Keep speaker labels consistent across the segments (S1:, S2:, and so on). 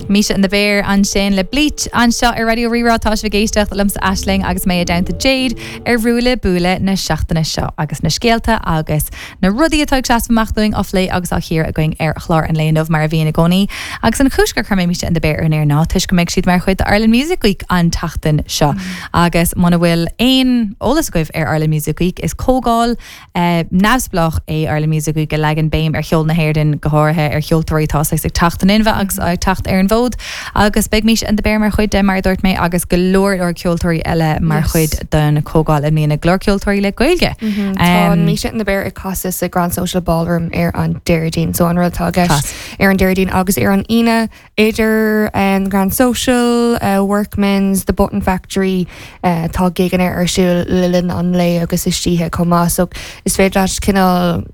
S1: Misha and the Bear ansin le Bleach anseo ar Raidió Rí-Rá. Tá sibh ag éisteacht liomsa Aisling agus mé i dteannta Jade ar Bhuaile Buaile na seachtaine seo agus na scéalta agus na rudaí atá ag seasamh amach dúinn á phlé agus á chíoradh againn ar chlár an lae inniu mar a bhíonn i gcónaí. Agus an chúis gur chuir mé Misha and the Bear ar an aer ná toisc go mbeidh siad mar chuid d'Ireland Music Week an tseachtain seo. Agus muna bhfuil aon eolas agaibh ar Ireland Music Week is comhdháil neamhspleách é Ireland Music Week a leagann béim ar cheol na hÉireann, go háirithe ar cheoltóirí atá saghas ag teacht in inmhe agus ag teacht ar an bhfód. Agus beidh Misha and the Bear mar chuid de, mar a dúirt mé, agus go leor leor ceoltóirí eile mar chuid den chomhdháil i mbliana, go leor ceoltóirí le Gaeilge.
S2: Tá Misha and the Bear ag casadh sa Grand Social Ballroom ar an Déardaoin, so an rud atá i gceist ar an Déardaoin agus ar an Aoine Idir an Grand Social, Workman's, The Button Factory, tá gigeanna ar siúl le linn an lae agus istoíche chomh maith so is féidir leat cineál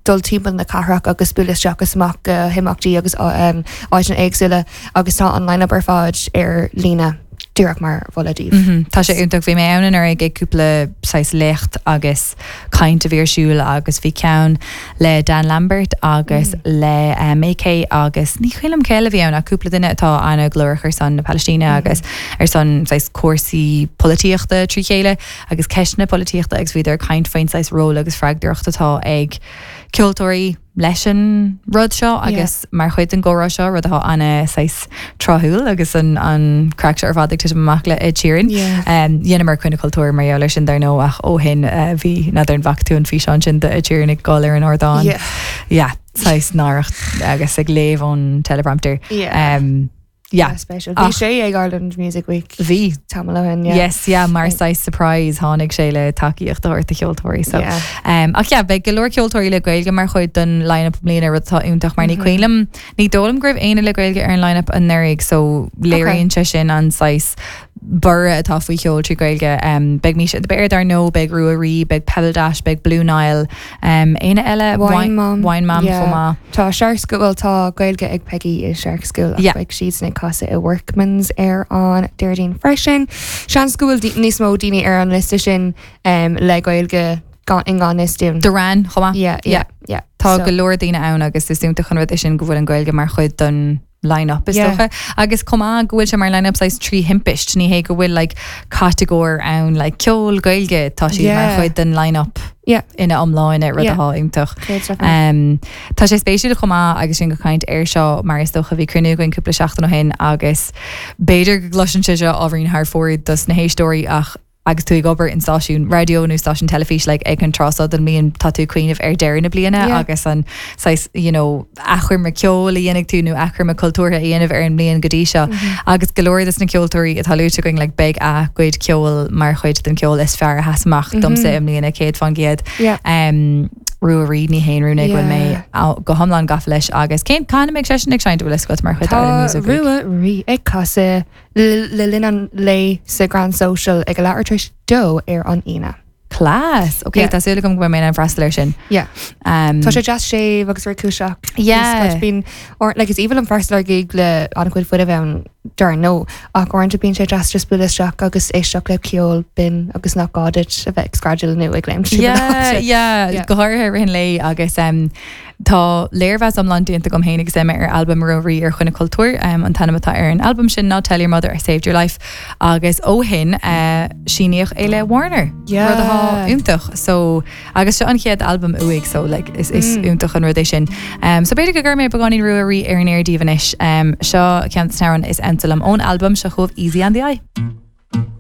S2: dul timpeall na cathrach agus bualadh isteach is amach go himeachtaí agus áiteanna éagsúla agus tá an line-up ar fad ar líne díreach mar mholadh
S1: daoibh. Tá sé iontach. Bhí mé ann anuraidh ag cúpla saghas léacht agus caint a bhí ar siúl agus bhí ceann le Dan Lambert agus le MayKay agus ní cuimhin liom cé eile a bhí ann ach cúpla duine atá an-ghlórach ar son na Palaistíne agus ar son saghas cúrsaí polaitíochta trí chéile agus ceisteanna polaitíochta agus bhíodar ag caint faoin saghas ról agus freagracht atá ag ceoltóirí leis an rud seo agus mar chuid den gcomhrá seo, rud atá ana saghas tráthúil agus an an craic seo ar fad ag titim amach le Ed Sheeran. Dheineamar Coinne Cultúir mar gheall air sin dar ndóigh ach ó shin bhí, n'fheadar an bhfaca tú an físeán sin de Ed Sheeran ag dul ar an ardán. Yeah. Saghas náireach agus ag léamh ón teleprompter.
S2: Yeah. Yeah. Spéisiúil. Bhí sé ag Ireland Music Week.
S1: Bhí.
S2: Tamall ó shin, yeah.
S1: Yes, yeah, mar saghas surprise tháinig sé le tacaíocht a thabhairt do cheoltóirí. So, yeah. um, ach yeah, beidh go leor ceoltóirí le Gaeilge mar chuid den line-up i mbliana rud atá iontach mar ní mm -hmm. cuimhin liom ní dóigh liom go raibh éinne le Gaeilge ar an line-up anuraidh so léiríonn sé sin an saghas borradh atá faoi cheol trí Ghaeilge. Um, beidh Misha and the Bear dar ndóigh, beidh Rua Rí, beidh Pebbledash, beidh Blue Nile, um, éinne eile?
S2: Wine Mom.
S1: Wine Mom yeah. chomh maith.
S2: Tá Shark School, well tá Gaeilge ag Peggy i Shark School ach yeah. beidh siadsan ag casadh i Workman's ar an Déardaoin freisin. Seans go bhfuil níos mó daoine ar an liosta sin um, le Gaeilge gan i ngan fhios
S1: dúinn. Duran chomh maith.
S2: Yeah, yeah, yeah.
S1: Tá so. go leor daoine ann agus is iontach an rud é sin go bhfuil an Ghaeilge mar chuid den line-up is dócha. Agus chomh maith go bhfuil sé mar line-up saghas trí thimpist, ní hé go bhfuil like catagóir ann like ceol Gaeilge, tá siad mar chuid den line-up ina iomláine, rud atá iontach. Tá sé spéisiúil chomh maith agus sinn ag caint air seo mar is dócha bhí cruinniú againn cúpla seachtain ó shin agus b'fhéidir go gcloiseann sé seo ábhairín thar fóir dos na héisteoirí ach agus tú ag obair in stáisiún raidió nó stáisiún teilifíse like ag an tráth seo den mbliain tá tú ag cuimhneamh ar deireadh na bliana yeah. agus an saghas you know achoimre ceoil a dhéanfaidh tú nó achoimre cultúrtha a dhéanamh ar an mbliain go dtí seo mm -hmm. agus go leor des na ceoltóirí atá luaite againn like beidh a gcuid ceoil mar chuid den ceol is fearr a sheas amach mm -hmm. domsa i mbliana 100%.
S2: Yeah.
S1: Um, Rua Rí ní haon rún é go bhfuil mé go hiomlán gafa leis agus cén cathain a mbeidh seisean ag seinnt an bhfuil a fhios agat mar chuid
S2: d'Ireland Music Week? Rua Rí ag casadh le linn an lae sa Grand Social ag a leathuair tar éis dó ar an Aoine.
S1: Class! Ok, tá súil agam go mbeidh mé in ann freastal air sin.
S2: Yeah. Um, tá sé deas séimh agus réchúiseach.
S1: Yeah.
S2: Bíonn, or, like, is aoibhinn liom freastal ar gig le an-chuid fuinnimh ann dar ndóigh, ach uaireanta bíonn sé deas just bualadh isteach agus éisteacht le ceol binn agus nach gá duit a bheith ag screadaíl nó ag léimt.
S1: Yeah, yeah, yeah. Go háirithe i rith an lae agus um, Tá léirmheas iomlán déanta agam féin agus Emma ar albam Rua Rí ar Choinne Cultúir. An t-ainm atá ar an albam sin ná Tell Your Mother I Saved Your Life agus ó shin síníodh é le Warner, rud atá iontach. So, agus seo an chéad albam uaidh so like is is iontach an rud é sin. So b'fhéidir go gcuirfidh mé beagáinín Rua Rí ar an aer daoibh anois. Seo ceann de na hamhráin is ansa liom ón albam, seo chugaibh Easy on the Eye.